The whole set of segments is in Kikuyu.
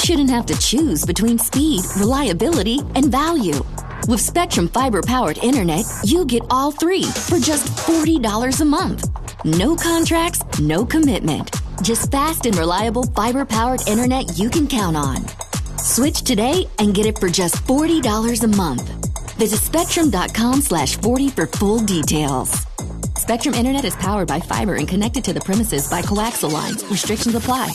shouldn't have to choose between speed, reliability, and value. With Spectrum Fiber powered internet, you get all three for just $40 a month. No contracts, no commitment. Just fast and reliable fiber powered internet you can count on. Switch today and get it for just $40 a month. Visit spectrum.com/40 for full details. Spectrum Internet is powered by fiber and connected to the premises by coaxial lines. Restrictions apply.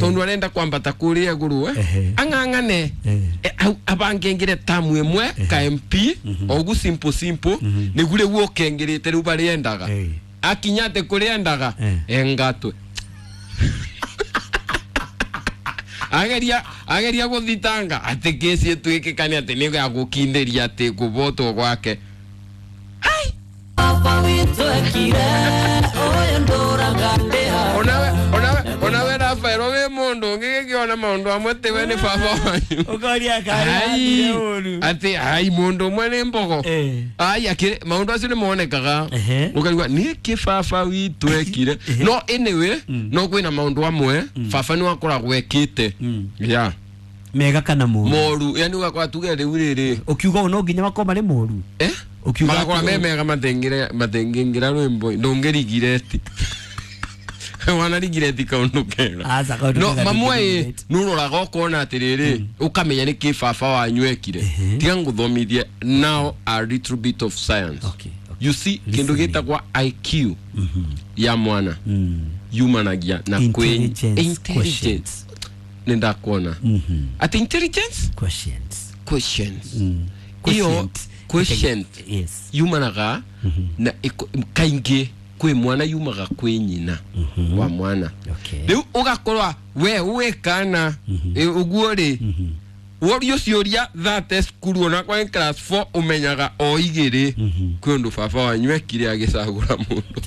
Tondu arenda kwambata kuria iguru, ang'ang'ane, abangengire tamu imwe ka MP ogu, simple simple, niguo riu ukengirite riu bariendaga. Akinyate kuriendaga, engatwe ageria ageria guthitanga ati kesi ituikikane ati ni ya gukindiria ati gubotwo gwake. Ai, onawe onawe onawe Rafael, wi mundu ungigikiona maundu amwe tiwe ni baba wanyu. Ukoria Ai, kari uru. Ati ai mundu umwe ni mbogo. Ai, akiri maundu acio ni monekaga. Ukaigua niki baba witũ ekire. No anyway, no kwina maundu amwe baba ni wakoragwo ekite ya Mega kana moru? Moru, yani ugakora tuge riu riri. Ukiuga ũũ no nginya makorwo marĩ moru? Eh. Ukiuga Magakora me mega matengire matengĩngira rwĩmbo ndũngĩrigireti wanarigireti kaundu kega. Aca, kaũndũ No kega mamwe ĩ ndũngĩrigireti. Nũroraga ũkona atĩrĩrĩ, ũkamenya nĩ kĩ baba wanyu ekire. Tiga ngũthomithie now a little bit of science. Okay. You see, kĩndũ Listening. gĩtagwa IQ ya mwana yumanagia na kwĩ Intelligence. Intelligence nĩ ndakuona atĩ intelligence Quotients. Quotients iyo. Quotient. Quotient. Yes. Yumanaga na kaingĩ kwĩ mwana, yumaga kwĩ nyina wa mwana. Rĩu ũgakorwa we wĩ kana ũguo rĩ, worio ciũria thate cukuru ona kwa class 4 ũmenyaga o igĩrĩ kwĩ ũndũ baba wanyu ekire agĩcagũra mũndũ.